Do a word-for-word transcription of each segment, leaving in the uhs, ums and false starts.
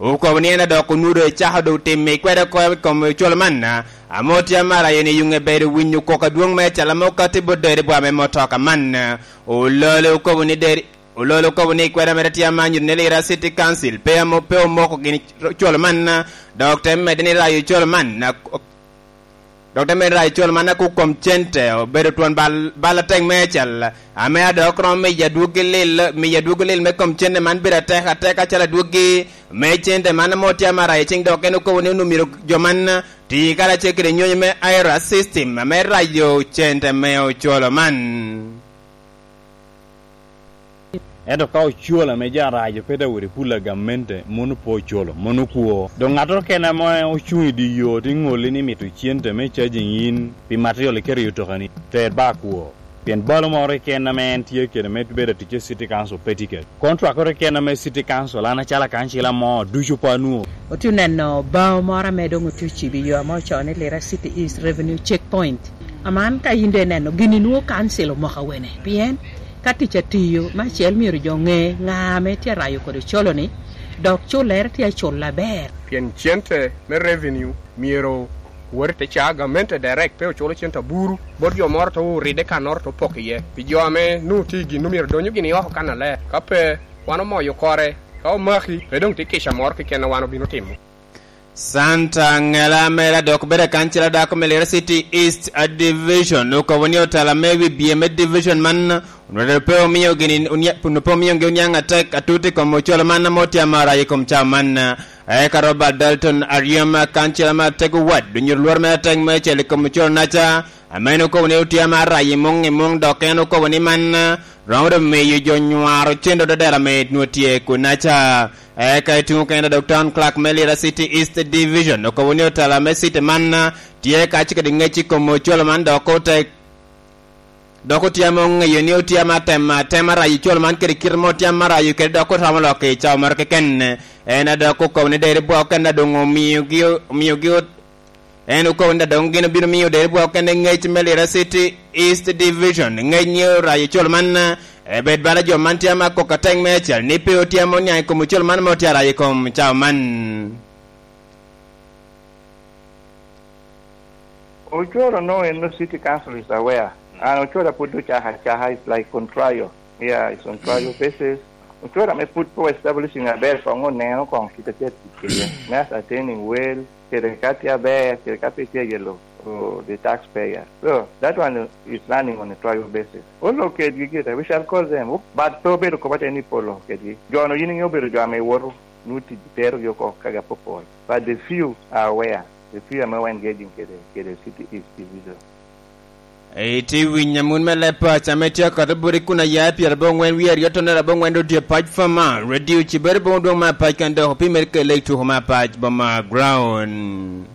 Okobo ni en adok onwodo ecako doŋ timo i kwede oko i kom ocwalo man, ame otye amarayo ni yuŋ ebedo winyo koko adwoŋ me acel ame okatti bot deri bwa me motoka man. Ololo okobo ni deri, Ololo okobo ni kwede mere tye ama nyuto ni Lira City Council pe amo-, pe omoko gini ocwalo man, dok te medde ni rayo ocwalo man, dok te medde rayo ocwalo man ako kom cente obedo twon bal, bal atek me acel, ame adok romo miyo adwoggi lil, miyo adwoggi lil me kom cente man bedo atek atek acalo adwoggi me cente man ame otye ama rayo cing, dok en okobo ni onwoŋo myero jo man ti karacel kede nyonyo me I R A system ame rayo cente me ocwalo man. Ento ka ocwalo ame jo arac pe daŋ wot i pul a gamente, mano pe ocwalo, mano kwo. Doŋ ŋattoro kene ame ocuŋ i dye yo te ŋolli ni mito cente me cajing in pi material iketo i otokani, ter ba kwo. Pien balo moro keken ame en tye kede me bedo atic i City Council pe tye kede. Kontwakoro keken ame City Council, an acalo akancila mo, ducu pe anwoŋo. Otye oneno bao moro ame doŋ otye ocibo i yo ame ocoo ni Lira City East Revenue Checkpoint. Aman ka in doŋ ineno gini, nwoŋo kancil omoko awene. Pien ka tic atiyo, me acel myero jo ŋe ŋa ame tye arayo kodi ocolo-ni, dok cullere tye acul aber. Pien cente me revenue myero wot i te caa gamente direct, pe oculo cente aburu bot jo moro te oride kannoro te opoko iye. Pi jo ame nwoŋo tye i gin, myero donyo gini oko kannaler. Ka pe, wan omoyo kore. Ka omaki, pe doŋ tye kica moro keken a wan obino timo. Santa Ŋela Mera dok bedo akancila dako me Lira City East a Division, okobo ni otela me wi bye me division man onwero pe omio gini onia-, onwero pe omiogi oniaŋ atek atut i kom ocwalo man ame otye amara i kom cawa man. Eka Robert Dalton Aryem, akancila me Atego Ward, onyuto lworo mere atek me acel i kom ocwalo naca, ame en okobo ni otye amara i muŋ i muŋ, dok en okobo ni man romo doŋ miyo jo nywaro cen dok dodero ame nwoŋo tye kunnaca. Eka i tuŋ okene dok Town Clerk me Lira City East Division okobo ni otela me city man tye ka cik kede ŋec i kom ocwalo man, dok ote, dok otye ame oŋeyo ni otye ame atemo atema rayo ocwalo man kede kite mo otye ame arayo kede, dok otamo lok i cawa moro keken. En a dok okobo ni deri bwa okene a doŋ omiogi, omiogi ot-, En okobo ni doŋ gin obino miyo deri bwa okene ŋec me Lira City East Division, ŋec ni orayo ocol man, eh, bed bala jo man tye ama kok ateng me acel, ni pe otye ama oniaŋ i kom ocol man ma otye arayo i kom cawa man. Ocoro no en no City Council is aware. And Ocoro pud ocako acaka, it's like on trial. Yeah, it's on trial basis. Ocoro ame pud po establishing aber, kong oneno kong kit a tye tic kede. Me ascertaining well, kede ka tye aber, kede ka pe tye yelo, oh, the taxpayer. So, that one is running on a trial basis. Olok kedgi gire, we shall call them. But pe obedo kop ateni polo kedgi. Jo no yin inge obedo jo ame iwoto, nu tic terogi oko kagi apopol. But the few are aware. The few ame wa engaging kede, kede City East Division. Iti winyo amun me leb paco ame tye akato bot i kun aya i pyerabongwen wie aryo tonere abongwen dodye pac fama, radio cibere bong dwong me apac kan dok opimere kele i tuko me apac boma ground.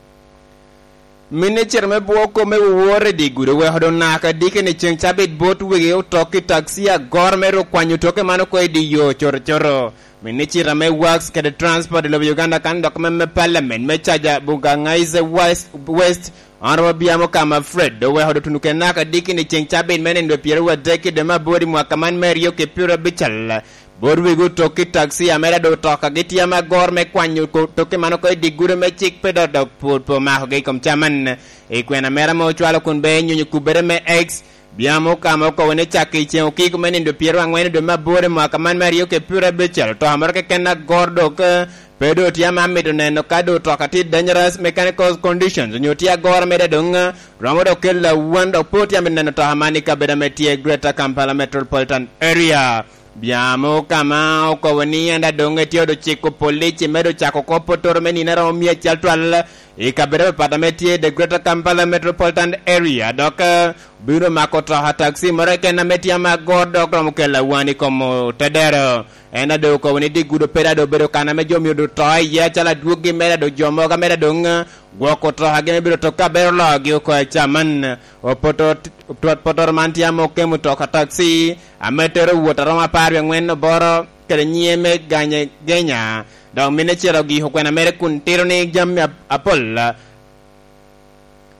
Minne cito me bwo kome wowor i di gudo weko doŋ naka diki ni ceŋ cabit bot wegi otok i taxi agoro me ru kwanyo toke man oko i di yo coto coto. Minne cita me Works kede Transport i lobo Uganda kan dok me, me Parliament me caja Bugangaize West, West, Honorable Biamo Kama Fred, oweko dotunu kede naka diki ni ceŋ cabit me nindo pyeraryo adek i dwe me aboro i mwaka man me aryo ki pyeraryo abical. Bot wegi otok ki taxi, amera doŋ otoka gitye ame agor me kwanyo ko-, toke man oko i di gudo me cik pe dok, dok pwod pe omakogi i kom caman. I kwena mera ame ocwalo kun be enyonyo kubere me X, Biamo Kama okobo ni cak i ceŋ okiko me nindo pyeraryo angwen i dwe me aboro i mwaka man me aryo ki pyeraryo abicel, otoka moro keken agor dok, eh, pe doŋ tye ame amito neno ka doŋ otoka tye dangerous mechanical conditions, onyo tye agoro mere doŋ, eh, romo dok kelo awan, dok pe otye amito neno otoka man i kabedo ame tye Greater Kampala Metropolitan Area. Biamo Kama okobo ni en daŋ doŋ etye odo ciko polici me doŋ cako kop otoro me nino aromo mia acel twal i kabedo apapat ame tye i the Greater Kampala Metropolitan Area, dok, eh, bino mako toka taxi moro keken ame tye ame agor dok romo kelo awan i kom otedero. En a doŋ okobo ni di gudo pe daŋ doŋ obedo kan ame jo myero doŋ to iye acalo adwoggi mere, a doŋ jo mogo mere doŋ, eh, gwoko tokagi me bedo tok ka bero loogi oko i caman. Opoto-, opoto-, potoro man tye ame okemo toka taxi ame tero wot aromo apar wie angwen oboro kede nyiye me Ganye Genya. Dok minne cito giko kwena mere kun tito ni jami ap-, apol.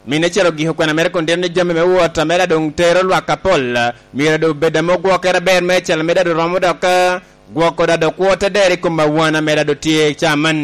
Minne cito giko kwena mere kun tito ni jami me wot ame daŋ doŋ tero lwak apol, myero doŋ bed ame ogwokere aber me cel ame daŋ doŋ romo dok, eh, gwoko daŋ doŋ kwo te dero i kom awan ame daŋ doŋ tye i caman.